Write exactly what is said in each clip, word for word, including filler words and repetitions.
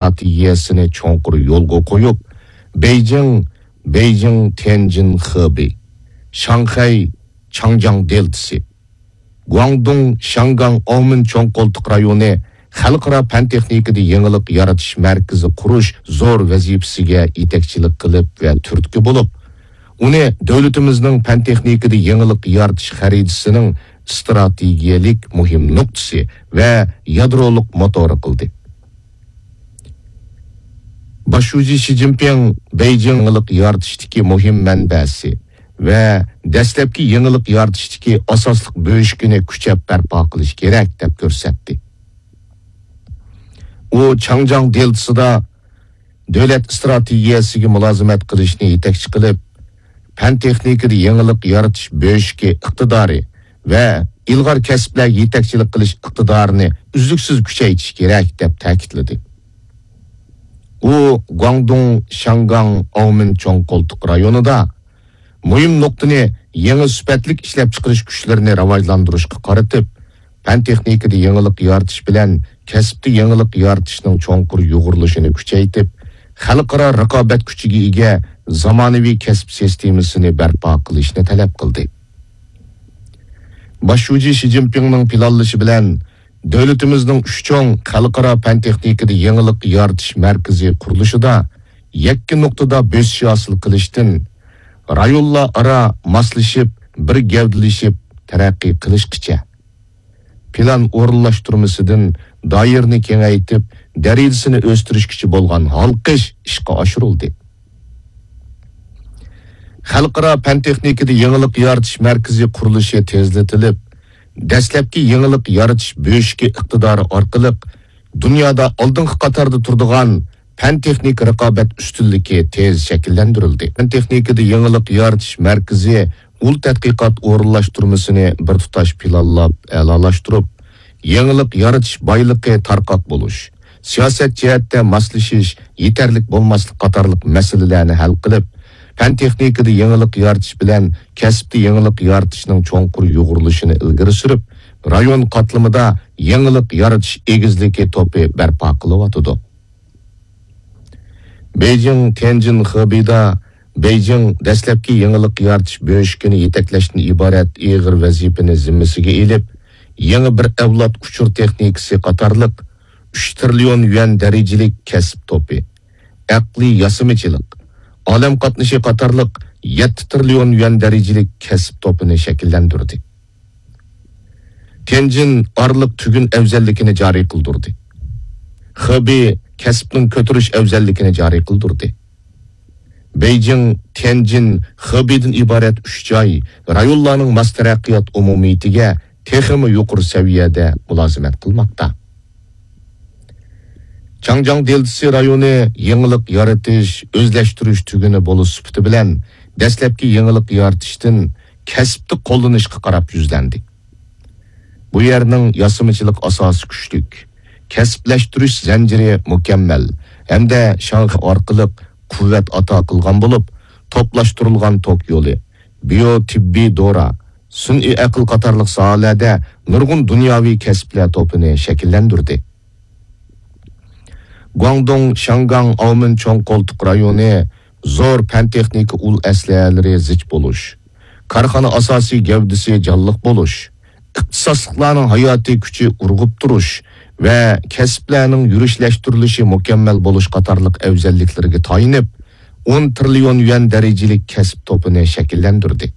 ئىستراتېگىيەسىنى چوڭقۇر يولغا قويۇپ، بېيجىڭ، بېيجىڭ، تيەنجىن، خېبېي، شاڭخەي، چاڭجياڭ دېلتىسى، گۇاڭدۇڭ، شياڭگاڭ، ئاۋمېن چوڭ قولتۇق رايونى خەلقئارا پەن-تېخنىكىدا يېڭىلىق يارىتىش مەركىزى قۇرۇش زور ۋەزىپىسىگە يېتەكچىلىك قىلىپ ۋە تۈرتكە بولۇپ، ئۇنى دۆلىتىمىزنىڭ پەن-تېخنىكىدا يېڭىلىق يارىتىش خەرىتىسىنىڭ ئىستراتېگىيەلىك مۇھىم نۇقتىسى ۋە يادرولۇق موتورى قىلدى. باش شۇجى شى جىنپىڭ بېيجىڭ يېڭىلىق يارىتىشتىكى مۇھىم مەنبەسى ۋە دەسلەپكى يېڭىلىق يارىتىشتىكى ئاساسلىق بۆشۈكىنى كۈچەپ بەرپا قىلىش كېرەك، دەپ كۆرسەتتى. ئۇ چاڭجياڭ دېلتىسىدا دۆلەت ئىستراتېگىيەسىگە مۇلازىمەت قىلىشنى يېتەكچى قىلىپ، پەن-تېخنىكىدا يېڭىلىق يارىتىش بۆشۈكى ئىقتىدارى ۋە ئىلغار كەسىپلەرگە يېتەكچىلىك قىلىش ئىقتىدارىنى ئۈزلۈكسىز كۈچەيتىش كېرەك، دەپ تەكىتلىدى. ئۇ گۇاڭدۇڭ، شياڭگاڭ، ئاۋمېن چوڭ قولتۇق رايونىدا مۇھىم نۇقتىنى يېڭى سۈپەتلىك ئىشلەپچىقىرىش كۈچلىرىنى راۋاجلاندۇرۇشقا قارىتىپ، پەن-تېخنىكىدا يېڭىلىق يارىتىش بىلەن كەسىپتە يېڭىلىق يارىتىشنىڭ چوڭقۇر يۇغۇرۇلۇشىنى كۈچەيتىپ، خەلقئارا رىقابەت كۈچىگە ئىگە زامانىۋى كەسىپ سىستېمىسىنى بەرپا قىلىشنى تەلەپ قىلدى. باش شۇجى شى جىنپىڭنىڭ پىلانلىشى بىلەن، دۆلىتىمىزنىڭ ئۈچ چوڭ خەلقئارا پەن-تېخنىكىدا يېڭىلىق يارىتىش مەركىزى قۇرۇلۇشىدا يەككە نۇقتىدا بۆسۈش ھاسىل قىلىشتىن، رايونلار ئارا ماسلىشىپ، بىر گەۋدىلىشىپ تەرەققىي قىلىشقىچە، پىلان ئورۇنلاشتۇرمىسىدىن دائىرىنى كېڭەيتىپ، دەرىجىسىنى ئۆستۈرۈشكىچە بولغان ھالقىش ئىشقا ئاشۇرۇلدى. خەلقئارا پەن-تېخنىكىدا يېڭىلىق يارىتىش مەركىزى قۇرۇلۇشى تېزلىتىلىپ، دەسلەپكى يېڭىلىق يارىتىش بۆشۈكى ئىقتىدارى ئارقىلىق دۇنيادا ئالدىنقى قاتاردا تۇرىدىغان پەن-تېخنىكا رىقابەت ئۈستۈنلۈكى تېز شەكىللەندۈرۈلدى. پەن-تېخنىكىدا يېڭىلىق يارىتىش مەركىزى ئۇل تەتقىقات ئورۇنلاشتۇرمىسىنى بىر تۇتاش پىلانلاپ، ئەلالاشتۇرۇپ، يېڭىلىق يارىتىش بايلىقى تارقاق بولۇش، سىياسەت جەھەتتە ماسلىشىش يېتەرلىك بولماسلىق قاتارلىق مەسىلىلەرنى ھەل قىلىپ، پەن-تېخنىكىدا يېڭىلىق يارىتىش بىلەن كەسىپتە يېڭىلىق يارىتىشنىڭ چوڭقۇر يۇغۇرۇلۇشىنى ئىلگىرى سۈرۈپ، رايون قاتلىمىدا يېڭىلىق يارىتىش ئېگىزلىكى توپى بەرپا قىلىۋاتىدۇ. بېيجىڭ، تيەنجىن، خېبېيدا بېيجىڭ دەسلەپكى يېڭىلىق يارىتىش بۆشۈكىنى يېتەكلەشتىن ئىبارەت ئېغىر ۋەزىپىنى زىممىسىگە ئېلىپ، يېڭى بىر ئەۋلاد ئۇچۇر تېخنىكىسى قاتارلىق ئۈچ تىرىليون يۈەن دەرىجىلىك كەسىپ توپى، ئەقلىي ياسىمىچىلىق، ئالەم قاتنىشى قاتارلىق يەتتە تىرىليون يۈەن دەرىجىلىك كەسىپ توپىنى شەكىللەندۈردى. تيەنجىن ئارىلىق تۈگۈن ئەۋزەللىكىنى جارى قىلدۇردى. خېبېي كەسىپنىڭ كۆتۈرۈش ئەۋزەللىكىنى جارى قىلدۇردى. بېيجىڭ، تيەنجىن، خېبېيدىن ئىبارەت ئۈچ جاي رايونلارنىڭ ماس تەرەققىيات ئومۇمىيىتىگە تېخىمۇ يۇقىرى سەۋىيەدە مۇلازىمەت قىلماقتا. چاڭجياڭ دېلتىسى رايونى يېڭىلىق يارىتىش، ئۆزلەشتۈرۈش تۈگۈنى بولۇش سۈپىتى بىلەن دەسلەپكى يېڭىلىق يارىتىشتىن كەسىپتە قوللىنىشقا قاراپ يۈزلەندى. بۇ يەرنىڭ ياسىمىچىلىق ئاساسى كۈچلۈك، كەسىپلەشتۈرۈش زەنجىرى مۇكەممەل ھەمدە شاڭخەي ئارقىلىق قۇۋۋەت ئاتا قىلغان بولۇپ، توپلاشتۇرۇلغان توك يولى، بىيو تېببىي دورا، سۈنئىي ئەقىل قاتارلىق ساھەلەردە نۇرغۇن دۇنياۋى كەسىپلەر توپىنى شەكىللەندۈردى. گۇاڭدۇڭ، شياڭگاڭ، ئاۋمېن چوڭ قولتۇق رايونى زور پەن-تېخنىكا ئۇل ئەسلىھەلىرى زىچ بولۇش، كارخانا ئاساسىي گەۋدىسى جانلىق بولۇش، ئىختىساسلىقلارنىڭ ھاياتىي كۈچى ئۇرغۇپ تۇرۇش ۋە كەسىپلەرنىڭ يۈرۈشلەشتۈرۈلۈشى مۇكەممەل بولۇش قاتارلىق ئەۋزەللىكلىرىگە تايىنىپ، ئون تىرىليون يۈەن دەرىجىلىك كەسىپ توپىنى شەكىللەندۈردى.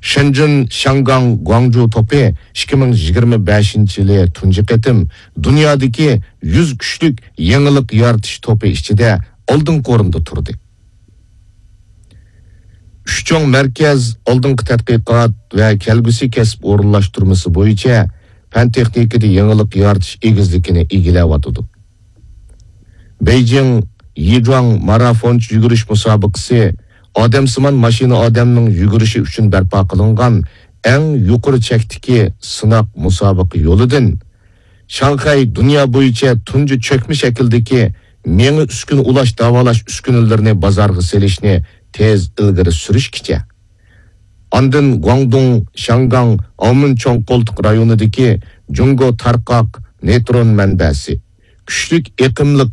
شېنجېن، شياڭگاڭ، گۇاڭجۇ توپى ئىككى مىڭ يىگىرمە بەشىنچى يىلى تۇنجى قېتىم دۇنيادىكى يۈز كۈچلۈك يېڭىلىق يارىتىش توپى ئىچىدە ئالدىنقى ئورۇندا تۇردى. ئۈچ چوڭ مەركەز ئالدىنقى تەتقىقات ۋە كەلگۈسى كەسىپ ئورۇنلاشتۇرمىسى بويىچە پەن-تېخنىكىدا يېڭىلىق يارىتىش ئېگىزلىكىنى ئىگىلەۋاتىدۇ. بېيجىڭ يىجۇاڭ مارافونچە يۈگۈرۈش مۇسابىقىسى ئادەمسىمان ماشىنا ئادەمنىڭ يۈگۈرۈشى ئۈچۈن بەرپا قىلىنغان ئەڭ يۇقىرى چەكتىكى سىناق مۇسابىقە يولىدىن شاڭخەي دۇنيا بويىچە تۇنجى چۆكمە شەكىلدىكى مېڭە ئۈسكۈنە ئۇلاش داۋالاش ئۈسكۈنىلىرىنى بازارغا سېلىشنى تېز ئىلگىرى سۈرۈشكىچە، ئاندىن گۇاڭدۇڭ، شياڭگاڭ، ئاۋمېن چوڭ قولتۇق رايونىدىكى جۇڭگو تارقاق نېيترون مەنبەسى، كۈچلۈك ئېقىملىق